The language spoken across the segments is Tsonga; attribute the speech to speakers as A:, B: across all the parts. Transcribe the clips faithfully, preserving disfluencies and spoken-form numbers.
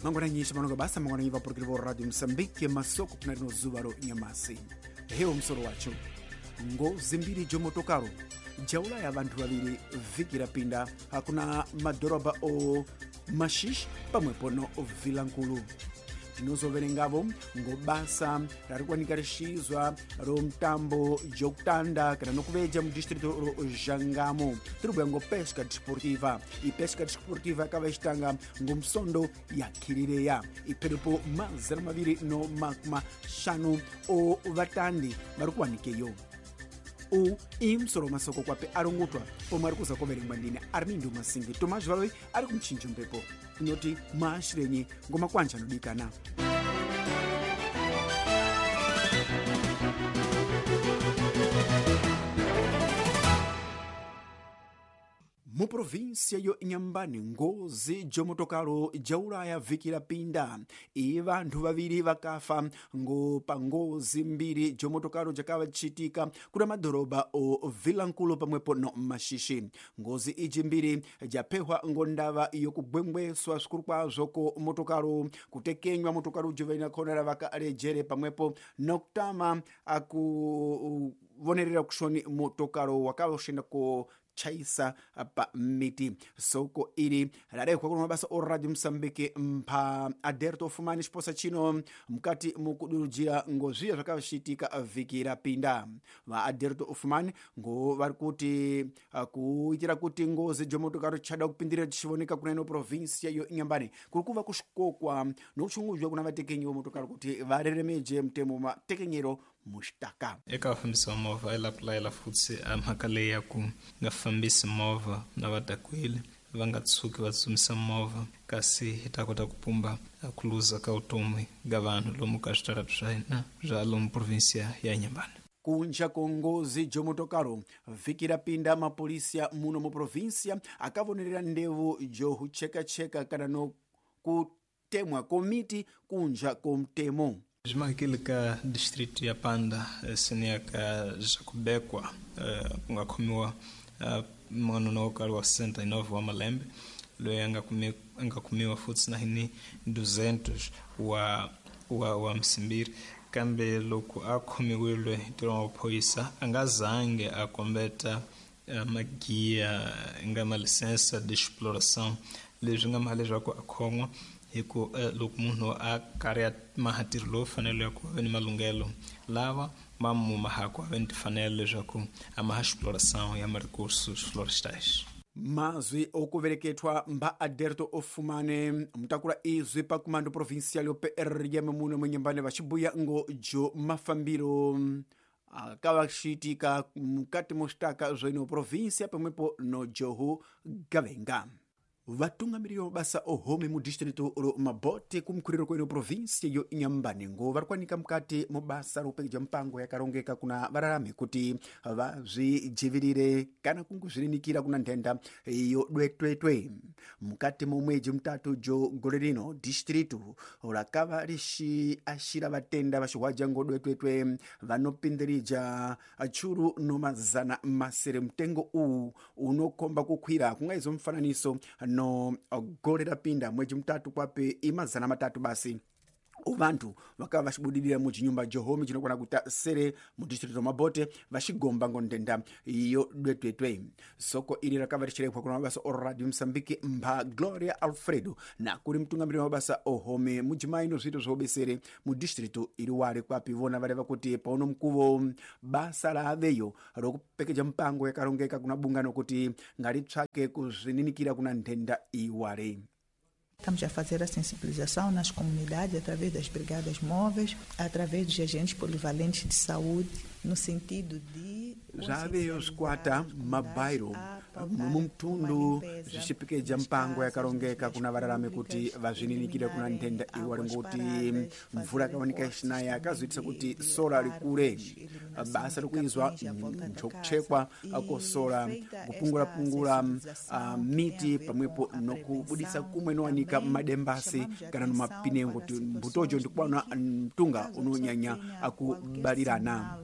A: Mangwananyisha manonga basa mangwananyi vapurukiri vo Radio Mosambike masoko kuna rino zuva ro nyamasi. Hewo musoro wacho. Ngozi mbiri jomotokaro jaulaya vanthu vaviri vhiki rapinda hakuna madhorobha o Maxixe pamwepo no Vilankulu. Tinozoverengavo ngo basa rarikuwanika rixizwa ro mutambo jokutanda kana nokuveja mudistrito ro Jangamo. Tiribhuya ngo pesca desportiva. E pesca desportiva yakava ixitanga ngo musondo ya Kirireya. Iperepo mazana maviri no makumi maxanu o vatandi vari kuwanikeyo. U imusoro masoko kwape arongotwa pomwe ari kuza koverengwa ndine Armindo Masingi. Tomás Valoi ari kumchinja mpepo inoti maashirenyi ngoma kwanja anodikana. Muprovinsia yo Inhambane, ngozi jomotokalo jaulaya vhiki rapinda. I vanthu vaviri vakafa ngo pa ngozi mbiri jomotokalo jakavachitika kuna madhorobha o Vilankulu pamwepo no Maxixe. Ngozi iji mbiri japehwa ngo ndava yokugwengweswa zvikuru kwazvo ko motokalo, kutekenywa motokalo jovaina khonera vakarejere pamwepo nokutama akuvonerera kushoni motokalo wakavoshenda ko chaisa pa miti. Soko iri rarehwa kuno mabasa o Radio Mosambike mpha Aderto Fumani xiposa chino mukati mukudurujira ngo zviya zvakashitika vhiki rapinda. Va Aderto Fumani ngo vari kuti kuitira kuti ngozi jomotokaro chada kupindirira tichivoneka kuna ino provinsia yo Inhambane kuri kuva kuxikokwa nokuchunguzwa kuna vatekenyi vomotokaro kuti vareremeje mutemo matekenyero muxitaka.
B: Eka vafambisi va movha i lapulayela futsi a mhaka leyi ya ku nga fambisi movha na va dakwile, va nga tshuki va tsutsumisa movha, kasi hi ta kota ku pumba ku luza ka vutomi ga vanhu lomu ka switarata swa hina swa lomu provinsia ya Inhambane.
A: Kunja ko ngozi jomotokaro vhiki rapinda mapolisia muno mu provinsia akavonerera ndevu johuchekacheka kana no kutemwa komiti kunja ko mutemo.
B: Zvimakile ka distrito ya Panda seniya ka Jacobekwa ku nga khomiwa n'wanuna wo karhi wa sessenta e nove wa malembe loyi a nga kumi a nga kumiwa futsi na hini duzentos wa wa wa msimbiri, kambe loko a khomiwile hi ntirho wa maphorisa a nga zange a kombeta magiya nga ma licença de exploração, leswi nga maha leswaku a khon'wa hi ku loko munhu a karhi a maha ntirho lowu fanele ya ku va ni malunghelo lava ma mu mahaku a va ni timfanelo leswaku a maha exploração ya ma-recursos florestais.
A: Mazwi okuvereketwa mba Aderto Ofumane mutakula izwi pa comando provincial yo P R M muno munyambane vaxibuya ngo jo mafambiro akavaxitika mukati moxitaka zwino provinsia pamwepo no johu gavenga. Vatungamiriri mabasa ohome mudistrito ro Mabote kumkhuriro kweno provinsia yo Inhambane ngo vari kuwanika mukati mubasa rokupekeja mpango yakarongeka kuna vararami kuti vazvijivirire kana kunguzvirinikira kuna nthenda yo dwetwetwe. Mukati momwedzi mutatu jo gore rino distrito rakava rixiaxira vatenda vaxihwaja ngo dwetwetwe vanopindirija churu no mazana masere. Mutengo uwu unokhomba kukhwira kungaizo mufananiso no gore rapinda mwedzi mutatu kwape imazana matatu basi ovantu vakava vaxibudirira muchinyumba johome chinokwana kuita sere mudistrito Mabote vaxigomba ngo ndenda yo dwetwetwe. Soko iri rakava richirekhwa kuna mabasa o Radio Mosambike mpha Gloria Alfredo na kuri mutungamiriri wa mabasa ohome mudzimai no zviito zvoubesere mudistrito iri wari kwapi vona vareva kuti pauno mukuvo basa raaveyo rokupekeja mpango yakarongeka kuna bungano kuti ngaritsvake kuzvininikira kuna nthenda iwari.
C: Estamos a fazer a sensibilização nas comunidades através das brigadas móveis, através dos agentes polivalentes de saúde, no sentido de
A: zvaveyo zvikwata mabairo mumutundu zvichipekeja mpango yakarongeka kuna vararami kuti vazvininikire kuna nthenda iwari ngoti mvura yakawanika ichinaya yakazoitisa kuti sora rikure. Basa rikuizwa njokuchekwa kosora kupungura-pungura uh, miti pamwepo nokubudisa kumwe nowanika madembasi kana nomapinengo kuti mbutojo ndikuwana mtunga unonyanya akubalirana.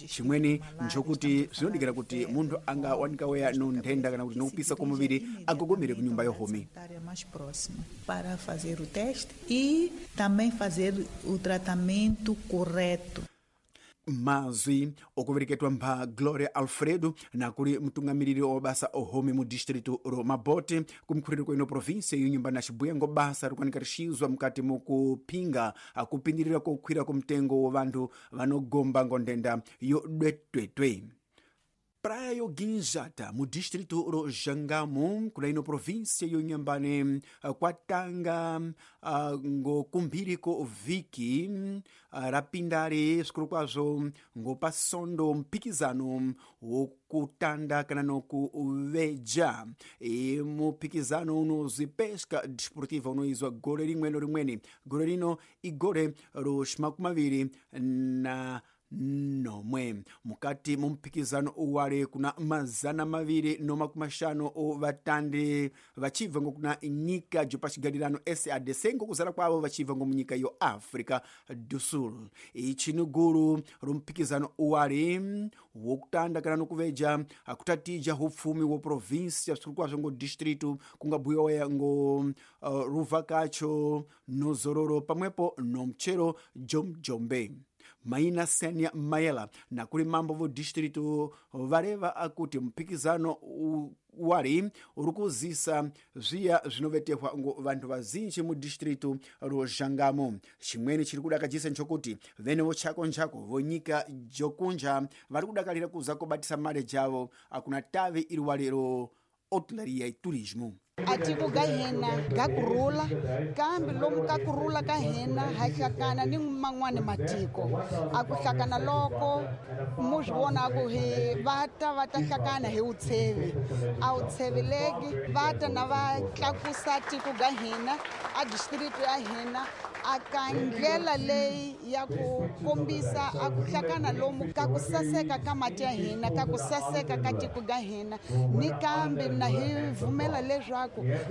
A: Chimweni nchokuti zvinodikira kuti munthu angawanika weya nonthenda kana kuti nokupisa kwa muviri agogomere ku nyumba yohomi
C: mais próxima para fazer o teste e também fazer o tratamento correto.
A: Mazwi okuvereketwa mpha Gloria Alfredo nakuli mtungamiriri wa basa ohomi mu distrito ro Mabote kumkhuriri kweno província yonyumba na Xibuya ngo basa rikuwanika rixizwa mukati mukuphinga akupindirira kokhwira kumtengo wa vanthu vanogomba ngo nthenda yo dwetwetwe. Praia yo Ginjata mu distrito ro Jangamo kuna ino província yo Inhambane kwatanga uh, ngo kumbiriko viki uh, rapindari svikuru kwazvo ngo pasondo mpikizano wokutanda kana nokuveja. E mupikizano unozwi pesca desportiva unoizwa gore rimwe no rimweni. Gore rino igore ro ximakumi na nomwe. Mukati mumphikizano uwale kuna mazana maviri no makumi mashanu ovatandi vachibva ngokuna nyika jopachigadirano S A D C ngokuzara kwavo vachibva ngomunyika yo Africa do Sul. Ichi ni guru rumphikizano uwale wokutanda kana nokuveja akutatija upfumi wa província svikuru kwazvo ngo distrito kungabhuyiwa ngo uh, ruvhakacho nozororo pamwepo nomchero jomjombe. Maina Senia Mayela nakuli mambo vo distrito vareva akuti mphikizano wali uri kuzisa zviya zvinovetehwa ngo vanthu vazinji mu distrito ro Jangamo. Chimweni chiri kudakajisa nchokuti vene vochako nchako vonyika jokunja vari kudakalira kuza kobatisa mare javo akuna tavi iri wali ro hotelaria e turismo.
D: Atiko ga hina ga kurula kambe lomu ka kurula ka hina ha hlakana ni man'wani matiko a ku hlakana loko mu swi vona ku hi va ta va ta hlakana hi wutshevi a wu tsheveleki va ta na va tlakusa tiko ga hina a district ya hina a ka ndlela leyi ya ku kombisa a ku hlakana lomu ka ku saseka ka mati ya hina ka ku saseka ka tiko ga hina ni kambe na hi vumela leswaku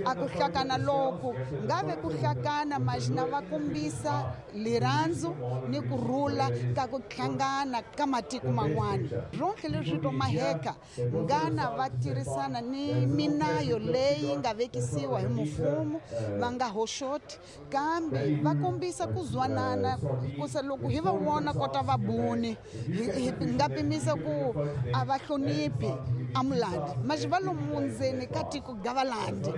D: a ku hlakana loku ngave ku hlakana majina va kombisa lirhandzu ni ku rhula ka ku hlangana ka matiko man'wana ronke leswi to maheka ngana va tirhisana ni minayo leyi nga vekisiwa hi mfumo va nga hoxoti kambe va kombisa ku zwanana kusa loko hi va vona kota va buni hi nga pimisa ku a va hloniphi amulandi mas va lomu ndzeni ka tiko ga valandi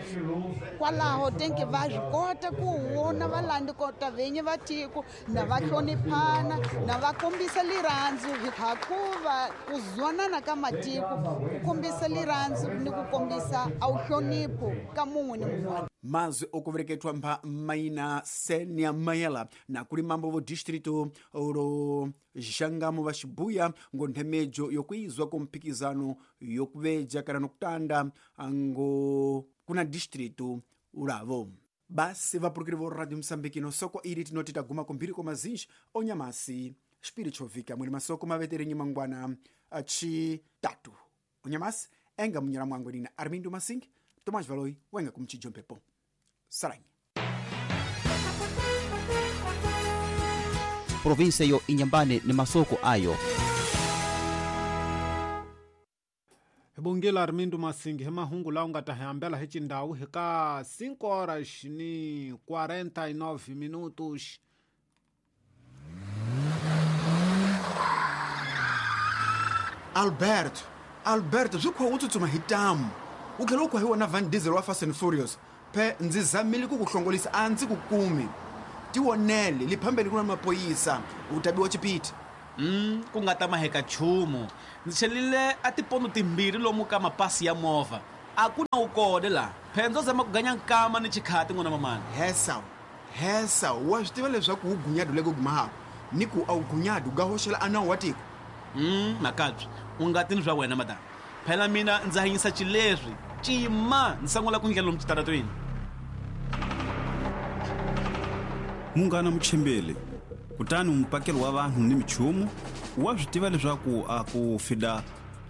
D: kwalaho tenke va swi kota ku vona valandi kota venyi va tiko na va hloniphana na va kombisa lirhandzu hakuva ku zwanana ka matiko ku kombisa lirhandzu ni ku kombisa a wu hlonipho ka mun'we ni mun'wana.
A: Mazwi okuvereketwa mpha Maina Senia Mayela nakuli mambo vo distrito ro Jangamo va Xibuya ngo nthemejo yokuizwa komphikizano yokuveja kana nokutanda ngo kuna distrito ulavo. Basi vapurukiri vo Radio Msambiki no soko ili tinoti taguma kumbiri kwa mazinji onyamasi spiritual mwene masoko maveterenyi mangwana achitatu onyamasi enga munyala mwangu nina Armindo Masingi Tomás Valoi wenga kumchijompepo saranyi.
E: Província yo Inhambane ni masoko ayo.
F: Bongela Armindo Masingi he mahungu lawa nga ta hambela hi cindhawu hi ka cinco horas ni quarenta e nove minutos.
A: Alberto, Alberto swi khwa u tsutsuma hi tamu u tlhela u khwa hi wona Van Diesel wa Fast and Furious phe ndzi zamile ku ku hlongolisa a ndzi ku kumi tivonele liphambeni ku na mapoyisa u tabiwa chipiti.
G: Mm, ku nga ta maheka nchumu ndzi chelile a tipondo timbirhi lomu ka mapasi ya movha a ku na wu kona laha phela ndzo zama ku ganya nkama ni chikhati n'wana mamani.
A: Hesa hesa wa swi tiva leswaku wu gunyadu leko gumahako ni ku a wu gunyadu ga hoxela a nawu wa tiko.
G: Mm, makabyi u nga tini swa wena madam phela mina ndza hanyisa xileswi cima ndzi sangula ku ndlela lomu xitaratweni.
H: Munghana muchimbeli kutani mupakeli wa vanhu ni michumu wa swi tiva leswaku a ku fida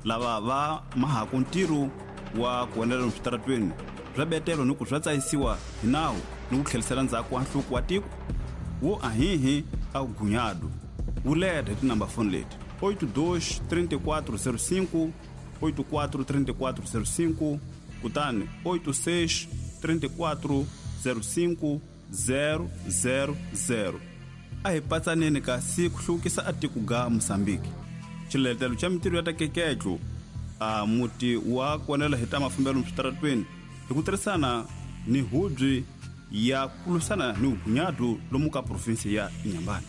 H: lava va mahaku ntirho wa ku endlela lomu switaratweni swa betelo ni ku swa tsayisiwa hi nawu ni ku tlhelisela ndzhaku wa nhluko wa tiko wo ahihi a gunyadu wu leta hi tinamba foni leti oito dois três quatro zero cinco, oito quatro três quatro zero cinco, kutani oito seis três quatro zero cinco zero zero zero. A hi patsaneni kasi ku hluvukisa a tiko ga Mozambique. Xiletelo xa mintirho ya ta keketlo a muti wa kuonela hi ta mafambelo switaratweni hi ku tirhisana ni hubyi ya ku lwisana ni vugunyadu lomu ka provinsi ya Inhambane.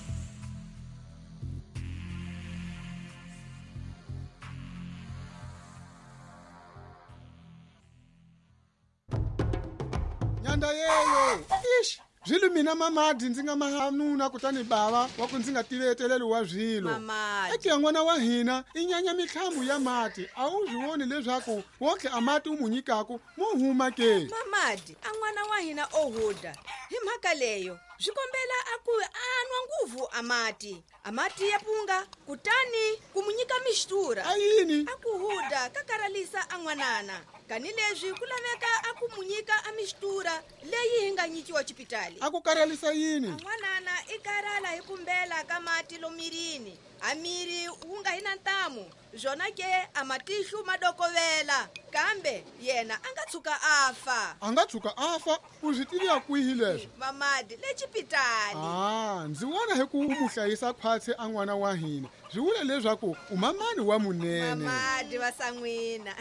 I: Nyanda yeyo ish Zwilu mina mamadi ndzi nga mahanuna kutani bava wa ku ndzi nga tiveteleli wa swilo. Eke n'wana wa hina i nyanya mitlhambu ya mati a wu swi voni leswaku wonke a mati u mu nyikaku mo huma ke.
J: Mamadi a n'wana wa hina o huda hi mhaka leyo swi kombela a ku a nwa nguvu a mati a mati ya punga kutani ku mu nyika mixtura.
I: A yini?
J: A ku huda ka karalisa a n'wanana kani leswi ku laveka a ku mu nyika a mixtura leyi hi nga nyikiwa xipitali.
I: A ku karalisa yini?
J: N'wanana i karala hi kumbela ka mati lomirini a miri wu nga hi na ntamu zwona ke a matihlu madokovela kambe yena a nga tshuka a fa.
I: A nga tshuka a fa u swi tiviya kwihi leswo?
J: Mamadi le xipitali.
I: Ah, ndzi vona hi ku u mu hlayisa khwatsi a n'wana wa hina swi vula leswaku u mamani wa munene.
J: Mamadi va san'wina.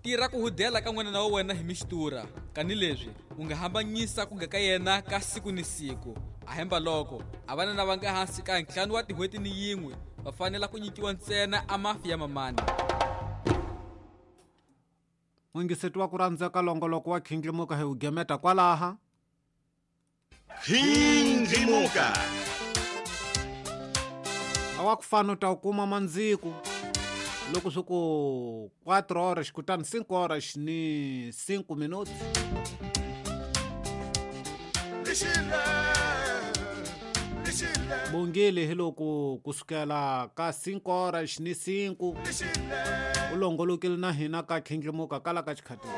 K: Tirha ku hudela ka n'wana wa wena hi mixtura kani leswi u nga hambanyisa ku nga ka yena ka siku ni siku. A hemba loko a vana va nga hansi ka ntlhanu wa tin'hweti ni yin'we va fanele ku nyikiwa ntsena a mafi ya mamani.
F: N'wingiseti wa ku rhandzeka longoloko wa Khindlimuka hi wu gemeta kwalaha.
L: Khindlimuka
F: a wa ku fana u ta wu kuma mandziku loko swi ku quatro horas kutani cinco horas ni cinco minutos. Bongile hi loko kusukela ka cinco horas ni cinco u longolokile na hina ka Khindlimuka kala ka xikhatini.